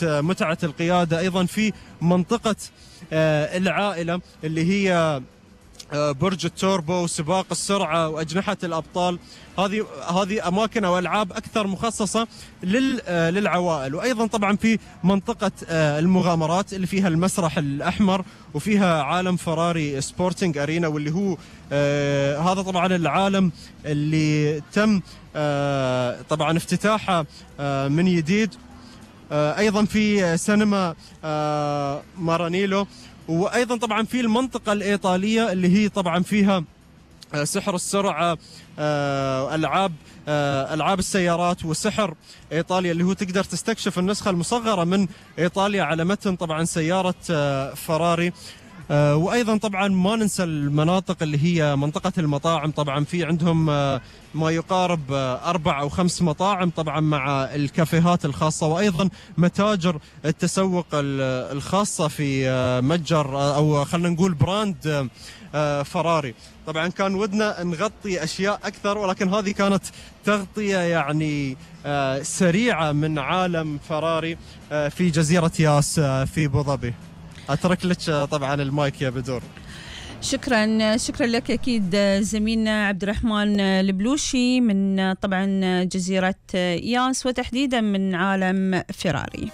متعة القيادة. أيضا في منطقة العائلة اللي هي برج التوربو وسباق السرعة وأجنحة الأبطال، هذه أماكن أو ألعاب أكثر مخصصة للعوائل. وأيضا طبعا في منطقة المغامرات اللي فيها المسرح الأحمر وفيها عالم فراري سبورتنج أرينا، واللي هو هذا طبعا العالم اللي تم طبعا افتتاحه من جديد. أيضا في سينما مارانيلو. وأيضا طبعا في المنطقة الإيطالية اللي هي طبعا فيها سحر السرعة، ألعاب السيارات وسحر إيطاليا، اللي هو تقدر تستكشف النسخة المصغرة من إيطاليا على متن طبعا سيارة فراري. وأيضا طبعا ما ننسى المناطق اللي هي منطقة المطاعم. طبعا في عندهم ما يقارب 4 أو 5 مطاعم طبعا مع الكافيهات الخاصة، وأيضا متاجر التسوق الخاصة في متجر أو خلينا نقول براند فراري. طبعا كان ودنا نغطي أشياء أكثر، ولكن هذه كانت تغطية يعني سريعة من عالم فراري في جزيرة ياس في أبو ظبي. أترك لك طبعا المايك يا بدور. شكرا لك أكيد زميلنا عبد الرحمن البلوشي من طبعا جزيرة ياس، وتحديدا من عالم فراري.